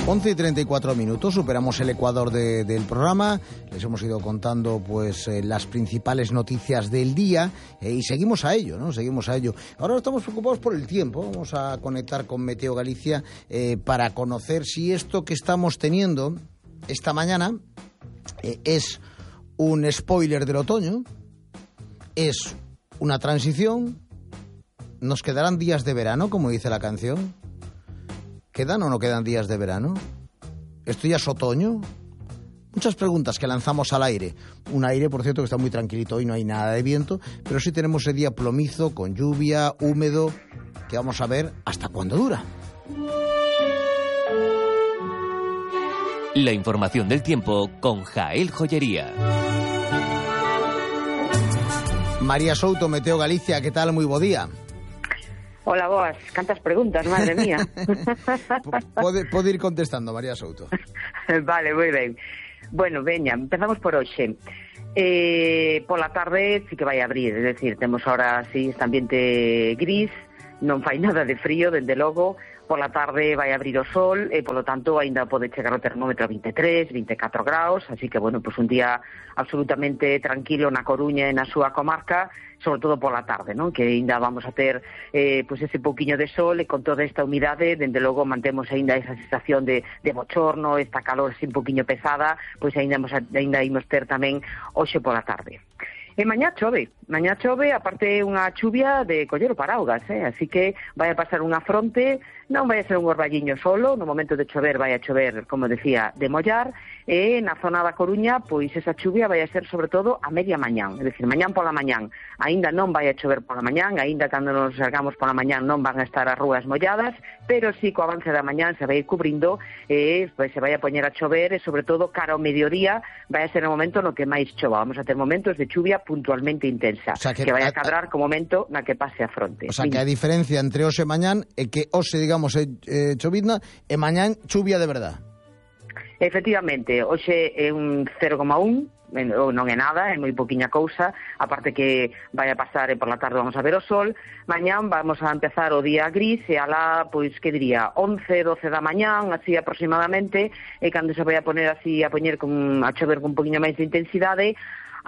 11:34, superamos el ecuador del programa, les hemos ido contando pues las principales noticias del día y seguimos a ello, ¿no? Seguimos a ello. Ahora estamos preocupados por el tiempo, vamos a conectar con Meteo Galicia para conocer si esto que estamos teniendo esta mañana es un spoiler del otoño, es una transición, nos quedarán días de verano, como dice la canción. ¿Quedan o no quedan días de verano? ¿Esto ya es otoño? Muchas preguntas que lanzamos al aire. Un aire, por cierto, que está muy tranquilito hoy, no hay nada de viento, pero sí tenemos ese día plomizo, con lluvia, húmedo, que vamos a ver hasta cuándo dura. La información del tiempo con Jael Joyería. María Souto, Meteo Galicia, ¿qué tal? Muy bo día. Hola, boas. Cantas preguntas, madre mía. Pode ir contestando, María Souto. Vale, moi ben. Bueno, veña, empezamos por hoxe. Pola tarde sí que vai abrir, é dicir, temos ahora así este ambiente gris, non fai nada de frío, dende logo. Pola tarde vai abrir o sol e, polo tanto, aínda pode chegar o termómetro a 23, 24 graus, así que, bueno, pues un día absolutamente tranquilo na Coruña e na súa comarca, sobre todo pola tarde, non? Que aínda vamos a ter pues ese pouquiño de sol e con toda esta humidade, dende logo mantemos aínda esa sensación de bochorno, esta calor así un pouquiño pesada, pois aínda imos ter tamén hoxe pola tarde. E mañá chove, aparte unha chuvia de coller o paraugas, así que vai a pasar unha fronte, non vai a ser un orballiño solo, no momento de chover vai a chover, como decía, de mollar, e na zona da Coruña, pois esa chuvia vai a ser sobre todo a media mañán, é dicir, mañán pola mañán, aínda non vai a chover pola mañán, aínda cando nos salgamos pola mañán non van a estar as rúas molladas, pero sí co avance da mañán se vai ir cubrindo e pois se vai a poñer a chover e sobre todo cara ao mediodía vai a ser o momento no que máis chova, vamos a ter momentos de chuvia puntualmente intensa, o sea, que vai a cadrar co momento na que pase a fronte. O sea, que a diferencia entre hoxe e mañán é que hoxe, digamos, chovizna e mañán chuvia de verdad. Efectivamente, hoxe é un 0,1, non é nada, é moi poquinha cousa, aparte que vai a pasar e por la tarde vamos a ver o sol. Mañán vamos a empezar o día gris e alá, pois, que diría, 11, 12 da mañán, así aproximadamente, e cando se vai a poner así a chover con un poquinho máis de intensidade,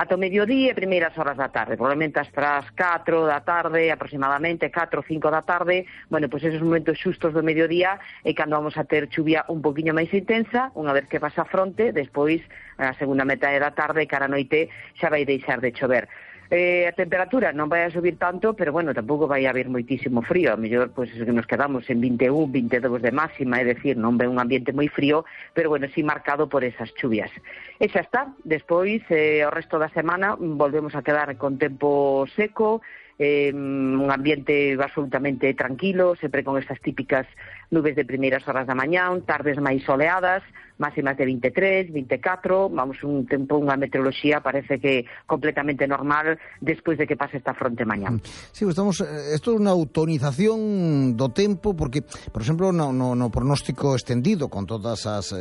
ata o mediodía e primeiras horas da tarde, probablemente hasta as 4 da tarde, aproximadamente 4 ou 5 da tarde, bueno, pois esos momentos xustos do mediodía é cando vamos a ter chuvia un poquinho máis intensa, unha vez que pasa a fronte, despois, a segunda metade da tarde, cara a noite, xa vai deixar de chover. A temperatura non vai a subir tanto, pero bueno, tampouco vai haber moitísimo frío, a mellor pois que nos quedamos en 21, 22 de máxima, é dicir, non ve un ambiente moi frío, pero bueno, sí marcado por esas chuvias. E xa está, despois o resto da semana volvemos a quedar con tempo seco, un ambiente absolutamente tranquilo, sempre con estas típicas nubes de primeiras horas da mañán, tardes máis soleadas, máximas de 23, 24, vamos, un tempo, unha meteoroloxía parece que completamente normal despois de que pase esta fronte mañán. Sí, esto é unha autonización do tempo, porque, por exemplo, no pronóstico extendido, con todas as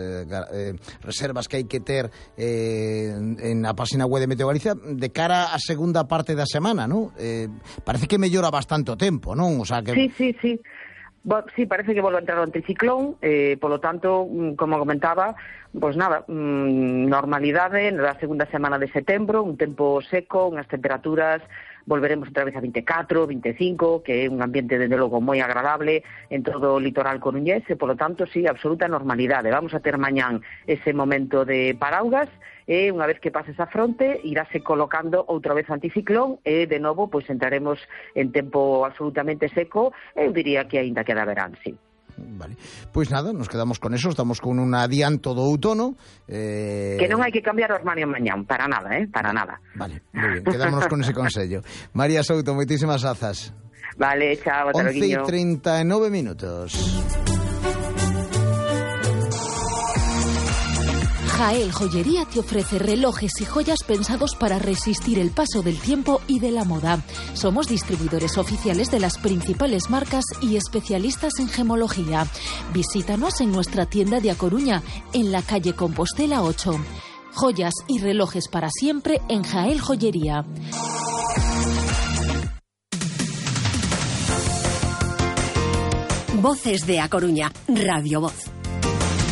reservas que hai que ter en a página web de Meteo Galicia, de cara á segunda parte da semana, non? Parece que mellora bastante o tempo, non? O sea, que... Sí. Sí, parece que volve a entrar o anticiclón, polo tanto, como comentaba, pois nada, normalidade na segunda semana de setembro, un tempo seco, unhas temperaturas, volveremos outra vez a 24, 25, que é un ambiente, desde logo, moi agradable en todo o litoral coruñés, e, polo tanto, sí, absoluta normalidade. Vamos a ter mañán ese momento de paraugas, e unha vez que pase esa fronte, iráse colocando outra vez o anticiclón, e, de novo, pois entraremos en tempo absolutamente seco, eu diría que aínda queda verán, sí. Vale, pois nada, nos quedamos con eso, estamos con un adianto do outono. Que non hai que cambiar o armario mañán, para nada, para nada. Vale, moi ben, quedámonos con ese consello. María Souto, moitísimas grazas. Vale, chao, ata logo. 11:39. Jael Joyería te ofrece relojes y joyas pensados para resistir el paso del tiempo y de la moda. Somos distribuidores oficiales de las principales marcas y especialistas en gemología. Visítanos en nuestra tienda de A Coruña, en la calle Compostela 8. Joyas y relojes para siempre en Jael Joyería. Voces de A Coruña, Radio Voz.